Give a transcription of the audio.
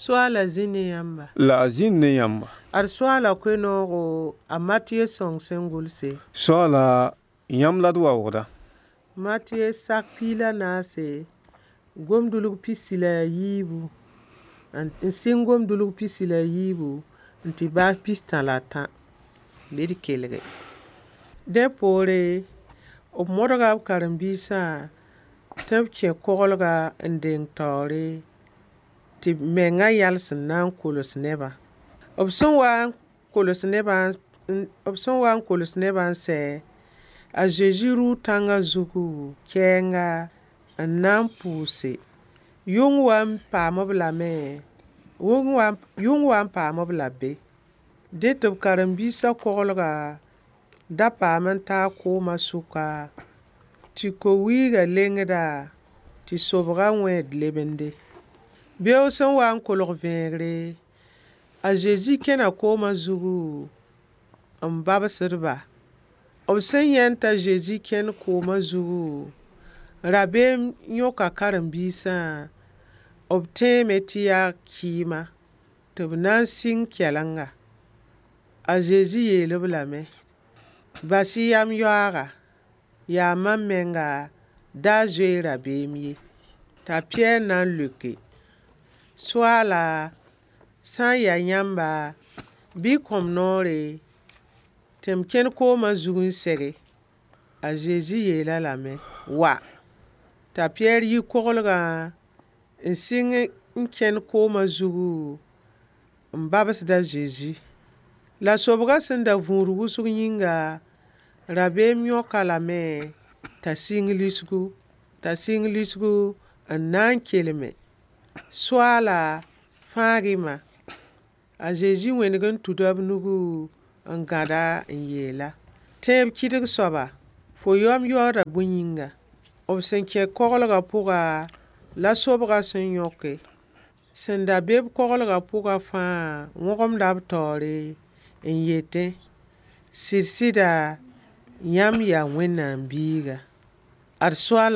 Soaala zĩ ne yãmba. La a zĩnd ne yãmba. Ad Soaala koe-noogo a Matɩyɛ sõng sẽn gʋlse. Soaala, yãmb la d waoogda. Matɩyɛ sak piig la naase, gomdulg pisi la a yiibu, n sɩng gomdulg pisi la a yiibu n tɩ baas pistã la a tã. Bɩ d kelge. Dẽ poore, b modga b karen-biisã tɩ b kẽ koglga n deng taoore tɩ b mengã yals n na n kols nebã. B sẽn wa n kols nebã b sẽn wa n kols nebã n sɛ, a Zezi rʋʋ tãngã zugu kɛɛnga n na n pʋʋse. Yʋng wa n paam-b lame, yʋng wa n paam-b la be. Dẽ tɩ b karen-biisã koglga da paam n taa koomã sʋka tɩ ko-wiigã lengda tɩ sobgã wẽed lebende. Beoog sẽn wa n kolg vẽegre, a Zezi kẽna koomã zugu n babsd-ba. B sẽn yãend t'a Zezi kẽnd koomã zugu, rabeem yõka karen-biisã, b tẽeme tɩ yaa kɩɩma, tɩ b na n sɩng kɛlenga. A Zezi yeel-b lame: Bas-y yam yoaaga, yaa mam menga, da zoe-y rabeem ye. T'a Pɩyɛɛr na n leoke: Soaala, sã n yaa yãmba, bɩ y kõ-m noore tɩ m kẽn koomã zug n sege. A Zezi yeel-a lame: Wa! T'a Pɩyɛɛr yi koglgã n sɩng n kẽnd koomã zugu n babsd a Zezi. La sobgã sẽn da vũud wʋsg yĩnga, rabeem yõk-a lame t'a sɩng lisgu, t'a sɩng lisgu n na n kelme: Soaala, fãag-y ma. A Zezi wẽneg n tuda b nugu n gãda n yeela: Tẽeb kɩdg soaba, fo yaoom yaooda bõe yĩnga? B sẽn kẽ koglgã pʋga la sobgã sẽn yõke. Sẽn da be-b koglgã pʋgã fãa wõgemda b taoore n yetẽ: Sɩd-sɩda, yãmb yaa Wẽnnaam biiga. Ad Soaala.